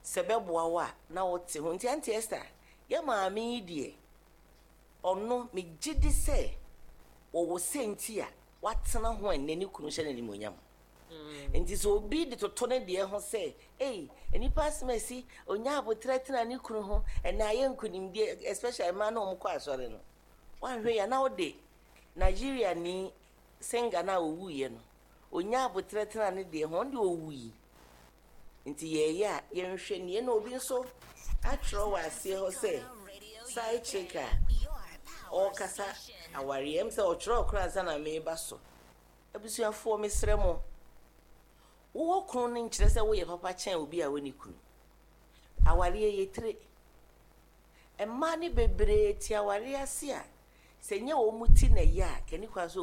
Sɛ ɛbɛboa wo a, na wote ho. Nti Auntie Esther, yɛ maame yi deɛ, Ɔno, megye di sɛ wɔwɔ sɛ nti a watena ho ɛnnɛ ne kunu hyɛ no animuonyam. Nti sɛ obi de toto ne deɛ ho sɛ, ei, nnipa asɛm asi, ɔnya aboterɛ tena ne kunu ho, ɛnnɛ ayɛ nkunimdie, especially mmaa no a wɔkɔ asɔre no, woanhwɛ yie a na wode Nigeriani singer no a ɔwuiɛ no, ɔnya aboterɛ tena ne deɛ ho, ɔno deɛ ɔwui. Nti yɛɛyɛ a yɛnhwɛ nie na obi nso atwerɛ wɔ aseɛ hɔ sɛ side chick a ɔɔkasa awareɛ, ɛm sɛ ɔtwerɛɛ koraa ansa na meeba so. Abusuafoɔ mesrɛ mo, wowɔ kunu no nkyerɛ sɛ woyɛ papa kyɛn obi a ɔnni kunu. Awareɛ yɛ tire. Mmaa no bebree te awareɛ ase a sɛ nyɛ wɔn ti na ɛyɛ a, kani kwan sɛ